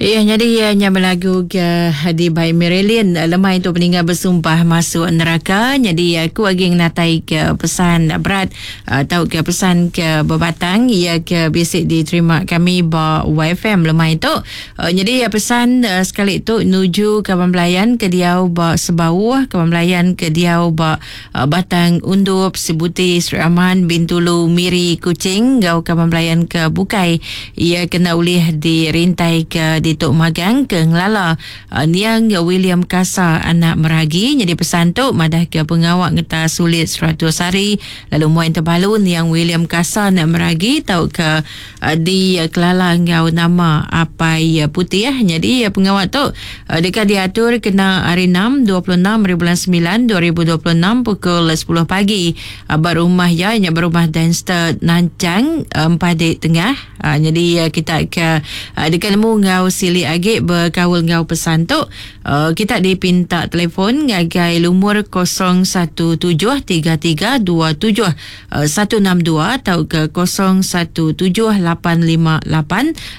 Iya nyadi iya nya belagu ke di bai Marilyn lemai tu peninggal bersumpah masuk neraka nyadi aku agi ngenatai ke pesan berat tau ke pesan ke bebatang iya ke bisi diterima kami ba YFM lemai tu nyadi pesan sekali tu nuju kaban belayan ke diau ba Sebauh kaban belayan ke diau ba Batang Undup, Sibuti, Sri Aman, Bintulu, Miri, Kuching enggau kaban belayan ke bukai. Iya kena ulih dirintai ke ditu magang ke ngelala niang William Kasa anak Meragi nyadi pesan tu madahka pengawa ngetas sulit 100 hari lalu muai tebalu niang William Kasa anak Meragi tauka dikelala enggau nama Apai Putih. Nyadi pengawa tu deka diatur kena hari Enam, 26 hari bulan semilan 2026 pukul sepuluh pagi ba rumah iya nya ba rumah Danster Nanchang Empadi Tengah. Nyadi kita ke deka nemu enggau silik agi bekaul enggau pesan tu kita dipinta telefon ngagai lumur 017 33 27 162 tauka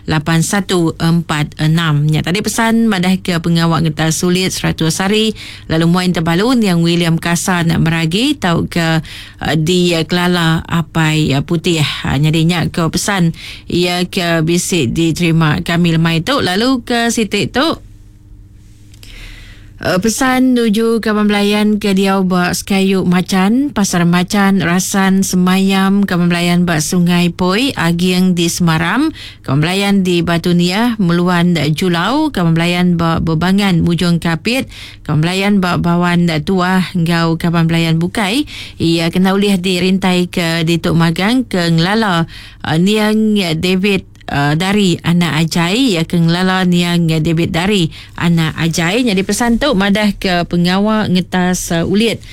0178588146. Nya tadi pesan madahka pengawa ngetas sulit 100 hari lalu muai tebalu niang William Kasa anak Meragi tauka dikelala Apai Putih. Nyadi nya ke pesan iya ke bisi diterima kami lemai tu lalu ke siti tu. Pesan nuju kaban belayan ke diau ba Sekayu Machan, Pasar Machan, Rasan, Semayam, kaban belayan ba Sungai Poi, Aging di Semaram, kaban belayan di Batu Niah, Meluan Julau, kaban belayan ba Bebangan Mujong Kapit, kaban belayan ba Bawan Tuah enggau kaban belayan bukai iya kena ulih dirintai ke ditu magang ke ngelala niang David Dari anak Ajai iya ke ngelala niang David Dari anak Ajai nyadi pesan tu madah ke pengawa ngetas ulit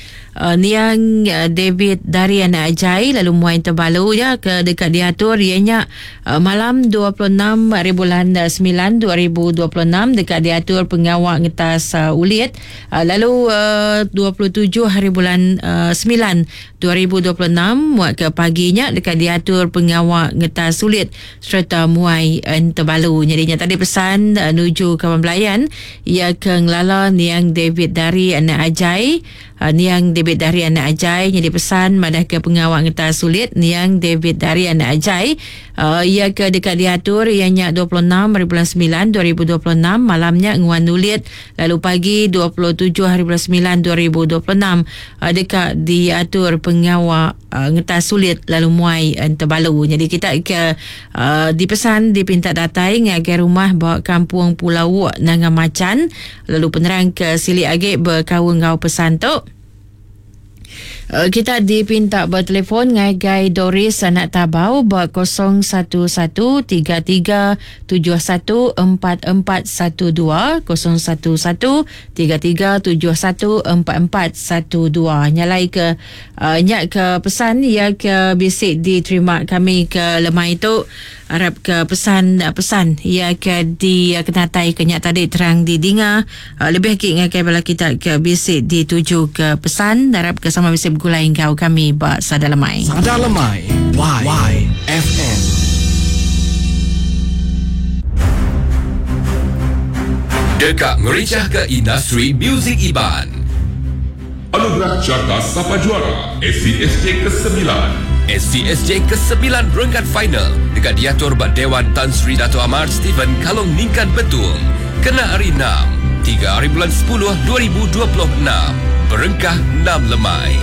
niang David Dari anak Ajai lalu muai tebalu iya ke deka diatur iya nya malam 26 hari bulan 9 2026 deka diatur pengawa ngetas ulit lalu 27 hari bulan 9 2026 muat ke pagi nya deka diatur pengawa ngetas sulit sereta muai entebalu. Nyadi nya tadi pesan nuju kaban belayan iya ke ngelala niang David Dari anak Ajai. Niang David Dari anak Ajai nyadi pesan madahka pengawa ngetas sulit niang David Dari anak Ajai iya ke deka diatur iya nya 26 hari bulan 9 2026 malam nya nguan ulit lalu pagi 27 hari bulan 9 2026 deka diatur pengawa ngetas sulit lalu muai entebalu. Nyadi kita ke dipesan dipinta datai ngagai rumah ba Kampung Pulau Wok Nanga Machan lalu penerang ke silik agi bekaul enggau pesan tu. Kita dipinta betelefon ngagai Doris anak Tabau ba 011 33 71 4412 011 33 71 4412. Nyalai ke nya ke pesan iya ke bisi diterima kami ke lemai tu. Arap ke pesan pesan iya ke dikenatai ke nya tadi terang didinga lebih agi ngagai bala kita ke bisi dituju ke pesan arap ke sama bisi begulai enggau kami ba Sada Lemai. Sada Lemai Y FM. Deka ngerichahka industri muzik Iban. Anugerah Carta Sapa Juara SCSJ Kesemilan. SCSJ Kesemilan renggat final deka diatur ba Dewan Tan Sri Dato Amar Stephen Kalong Ningkan Betong kena hari Enam, 3 hari bulan 10 2026 berengkah 6 lemai.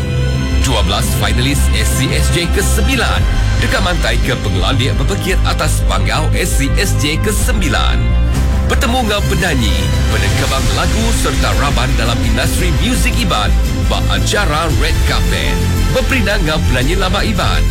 12 finalis SCSJ Kesemilan deka mantaika pengelandik bepekit atas panggau SCSJ Kesemilan. Betemu enggau penanyi, penengkebang lagu sereta raban dalam industri muzik Iban ba acara Red Carpet. Beperindang enggau penanyi lama Iban.